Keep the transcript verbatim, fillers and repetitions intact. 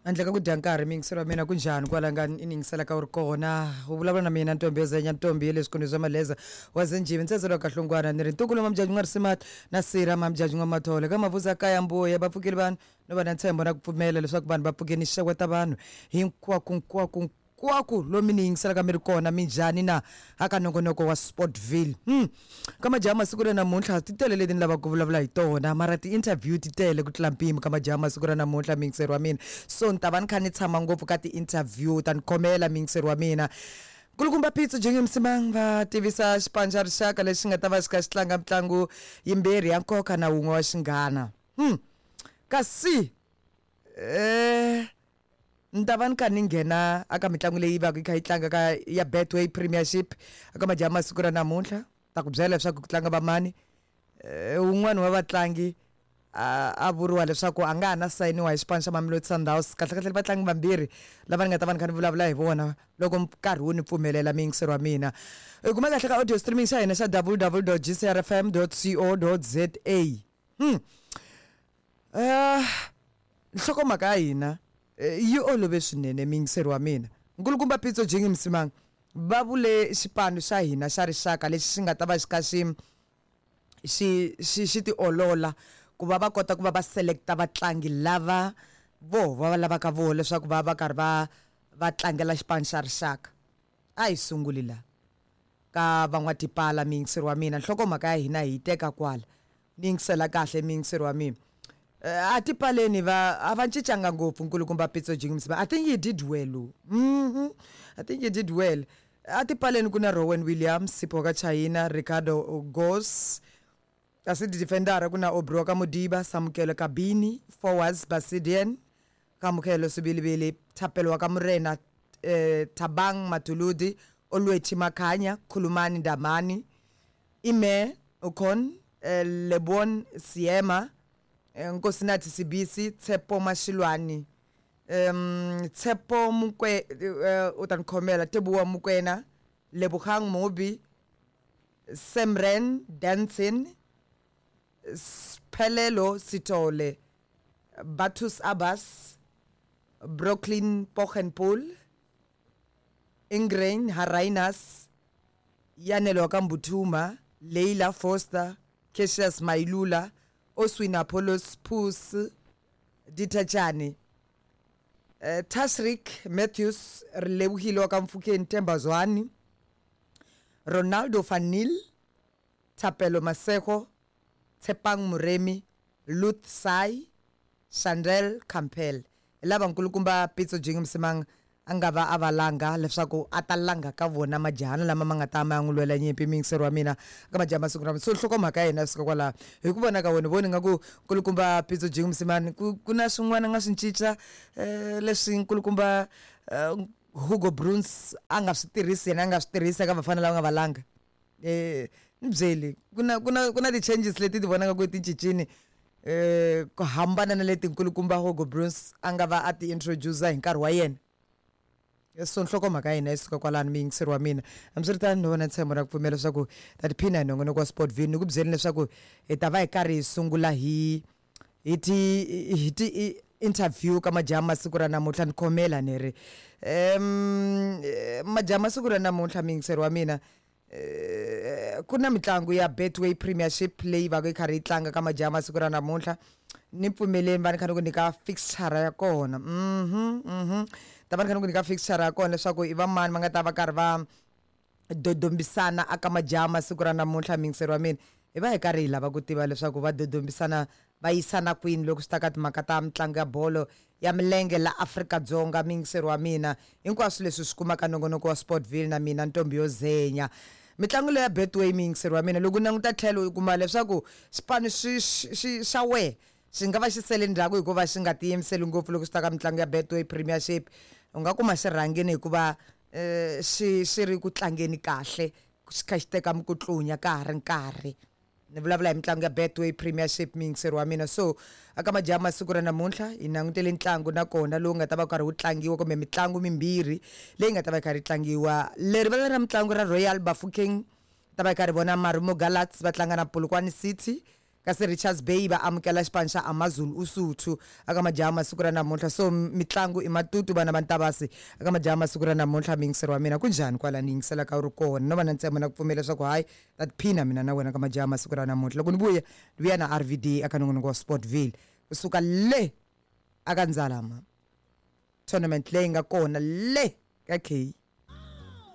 Handle ka ku dya nkarhi, miyingiselo wa mina, ku njhani kwala nga i yingiselaka u ri kona? U vulavula na mina Ntombi Yozenya, Ntombi ya le swikolweni swa Maleza wa Zenjivi, ntsedzelo wa Kahlungwana. Ni ri ntukulu Mamjaji n'wa Risimati na Sira Mamjaji n'wa Mathole ka Mavuza kaya mbuya. Va pfukile vanhu no va na ntshembo na ku pfumela leswaku vanhu va pfukeni. Xeweta vanhu hinkwako nkwako nkwako lomi ni yingiselaka mi ri kona. Minjhani na aka nongonoko wa Sportville? hmm. Ka majaha masiku ra namuntlha ti tele leti ni lavaka ku vulavula hi tona, mara ti-interview ti tele ku tlula mpimo ka majaha masiku ra namuntlha, miyingiseri wa mina. So ni ta va ni kha ni tshama ngopfu ka ti-interview, ta ni khomela, miyingiseri wa mina. Nkulukumba Pitso Jenge Msimang va tivisa xipano xa rixaka lexi nga ta va xi kha xi tlanga mitlangu yimbirhi ya nkoka na wun'we wa xinghana. hmm. Kasi eh ni ta va ni kha ni nghena aka mitlangu leyi va ka yi kha yi tlanga ka ya Betway Premiership aka majaha masiku ra namuntlha. Ta ku byela leswaku ku tlanga vamani. eh Un'wana wa vatlangi a a vuriwa leswaku a nga ha na sayiniwa hi xipano xa Mamelodi Sundowns. Kahle kahle vatlangi vambirhi lava ni nga ta va ni kha ni vulavula hi vona loko nkarhi wu ni pfumelela, miyingiseri wa mina. I kuma kahle ka audio streaming xa hina xa w w w g c r f m co za. hmm uh, nhlokomhaka ya hina yi olove swinene, miyingiseri wa mina. Nkulukumba Pitso Jingi Msimang va vule xipano xa hina xa rixaka lexi xi nga ta va xi kha xi xi xi xi tiolola ku va va kota ku va va selecta vatlangi lava vo va va lavaka voho leswaku va va karhi va va tlangela xipano xa rixaka. A hi sunguli la ka van'watipala, miyingiseri wa mina. Nhlokomhaka ya hina hi yi teka kwala. Ni yingisela kahle, miyingiseri wa mina. A tipaleni va a va cincanga ngopfu. Nkulukumba Pitso Jingimsiba, I think he did well. mm I think he did well. A tipaleni ku na Rowan Williams, Sipho ka China, Ricardo Goss. Kasi defendera ku na Aubrey ka Modiba, Samukelo Kabini. Forwards, Basidian Kamukelo Sibilibili, Thapelo wa ka Morena, eh, Thabang Matuludi, Olwethu Makhanya, Khulumani Ndamani, Ime Okon, eh, Lebon Siema, eh, Nkosinathi Sibisi, Tshepo Mashilwani, um Tshepo Mukwe, uh, u ta ni khomela, Teboa Mokoena, Lebogang Mobi, Semren Dansin, Sphelelo Sithole, Batus Abbas, Brooklyn Pochenpool, Ingrain Harainas, Yanelo Kambuthuma, Leila Foster, Cassius Mailula, Oswin Apollos Pus Ditachane, uh, Tashrik Matthews, Relebohile wa Kamfukeng, Themba Zwane, Ronaldo Fanil, Thapelo Maseko, Tshepang Moremi, Luth Sai, Chandel Campbell. Lava nkulukumba Pitso Jingi Msimang a nga va a va langa leswaku a ta langa ka vona majahana lama ma nga ta ma ya n'wi lwela nyimpi, miyingiseri wa mina, ka majaha masiku rama. So nhlokomhaka ya hina yi suka kwalaho. Hi ku vona ka wena, voni nga ku nkulukumba Pitso Jingi Msimani ku ku na swin'wana nga swi cinca um leswi nkulukumba uh, Hugo Broos a nga swi tirhisi, yena a nga swi tirhisi eka vafana lava nga va langa? eh ni byeli, ku na ku na ku na ti-changes leti ti vonaka ku ti cincini eh ku hambana na leti nkulukumba Hugo Broos a nga va a ti introduce hi nkarhi wa yena? So nhlokomhaka ya hina yi suka kwalano, miyingiseri wa mina. Hambiswiritano, ni vona ntshembo na ku pfumela leswaku ta tiphina hi nongonoko wa Sportville. Ni ku byeli leswaku hi ta va hi karhi hi sungula hi hi ti hi ti interview ka majaha masiku ra namuntlha. Ni khomela ni ri um majaha masiku ra namuntlha, miyingiseri wa mina, eh, ku na mitlangu ya Betway Premiership leyi va ka yi karhi yi tlanga ka majaha masiku ra namuntlha. Ni pfumeleni va ni kha ni ku nyika fixture ya kona. mhm mhm ta va ni kha ni ku nyika fixture ya kona leswaku i va mani va nga ta va karhi va dodombisana aka majaha masiku ra namuntlha, miyingiseri wa mina. Hi va hi karhi hi lava ku tiva leswaku va dodombisana va yisana kwini loko swi ta ka timhaka ta mitlangu ya bolo ya milenge la Afrika-Dzonga, miyingiseri wa mina. Hinkwaswo leswi swi kumaka nongonoko wa Sportville na mina Ntombi yo Zenya. Mitlangu leyi ya Betway, miyingiseri wa mina, loko u languta tlhelo u kuma leswaku xipano xi xi xa wehe xi nga va xi sele ndzhaku hikuva xi nga tiyimiseli ngopfu loko swi ta ka mitlangu ya Betway Premiership. U nga kuma xi rhangini hikuva um xi xi ri ku tlangeni kahle, xi kha xi teka mikutlunya ka ha ri nkarhi. Ni vulavula hi mitlangu ya Betway Premiership, miyingiseri wa mina. So aka majaha masiku ra namuntlha hi langutele ntlangu nakona lowu nga ta va karhi wu tlangiwa, kumbe mitlangu mimbirhi leyi nga ta va yi karhi yi tlangiwa. Leri vala ra mitlangu ra Royal Bafokeng, ta va yi karhi vona Marumo Gallants va tlanga na Polokwane City. Kasi Richards Bay va amukela xipano xa Amazulu Usuthu aka majaha masiku ra namuntlha. So mitlangu i matutu vana va Ntavasi aka majaha masiku ra namuntlha. Miyingiseri wa mina, kunjhani kwala ni yingiselaka u ri kona? No va na ntshembo na ku pfumela leswaku hayi, ta tiphina mina na wena ka majaha masiku ra namuntlha. Loko ni vuya, ni vuya na R V D aka nongonoko wa Sportville kusuka le aka Ndzalama tournament leyi nga kona le ka K.